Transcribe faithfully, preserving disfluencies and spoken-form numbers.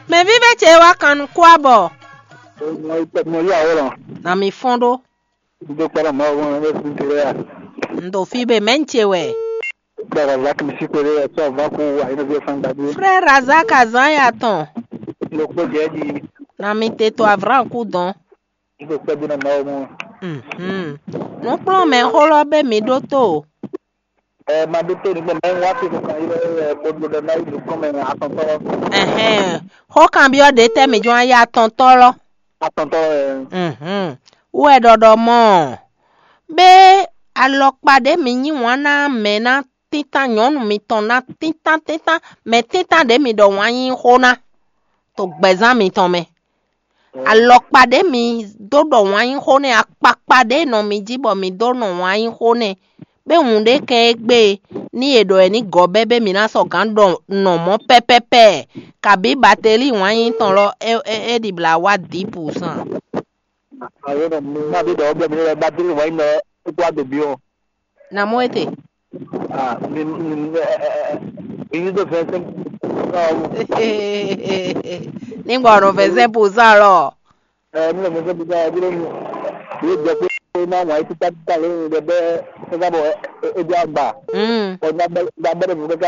Mɛvívɛ́ ce wá kan nukún abɔ. Mo yí awɔ̌lɔn. Na mi fɔ́n ɖó. Dó kpɔ́ ɖɔ Mawu ɔ́ é fún tlɛ a? Un ɖo fí be mɛ̌ ce wɛ? Kpɔ́ Razak mi sí kpéɖé wɛ sɔ́ vǎ kú wa yín nɔví ɔ́ fán gbadé. Frère Razak azán ya tɔn. Lo kpó jɛ jí. Na mi te to avranku dɔn. Dó kpɛ́ dó ná Mawu mɔ. Mhm. Nǔkplɔ́nmɛxó lɔ bɛ mi ɖótó. Ɛ ma ɖótó ní gbɔn mɛ wá fi kankan yi lɛ kpódó ɖɔ ná yi nukɔn mɛ atɔntɔ. Ɛhɛn. Xó kanbyɔ́ ɖě tɛ́ mi jɔ́n ayé atɔntɔ lɔ. Atɔntɔ ɛ. Mhm. Wú wɛ ɖɔɖɔ mɔ ɔ́. Bé alɔkpa ɖě mi yí wǎn ná mɛ ná tíntan nyɔ̌nu mitɔn ná tíntan tíntan mɛ tíntan ɖě mi ɖɔ wǎn yí xó ná to gbɛzán mitɔn mɛ. Alɔkpa ɖě mi dó ɖɔ wǎn yí xó nɛ́, akpakpa ɖě nɔ mi jí bɔ mi dó nɔ wǎn yí xó nɛ́. Bé wǔn ɖé kɛn égbé ní è ɖɔ è ní gɔ́ bɛ́ bé mi ná sɔ́ gǎn ɖɔ nɔ mɔ̌ pɛ́pɛ́pɛ́, kabǐ bateli wǎn yí tɔn lɔ é é é ɖi blǎ wá dǐ pǔsán. Ayo nɔ mi ma bi ɖɔ bɛ mi lɛ bateli wǎn yí nɔ é kó adó bi ɔ́. Na mɔ éte. Ah, mi mi mi mi yí dó vingt-cinq. Nígbà ọ̀nà vingt-cinq pour cent lọ. Ɛ mi lɛ vingt-cinq pour cent ɛ bí lónìí. Yóò jẹ pé má wà yí títà títà lónìí dɛ bɛ ẹ sábà ẹ ẹ bí àgbà. Mm. Ɔ ní abẹ́ ní abẹ́ ní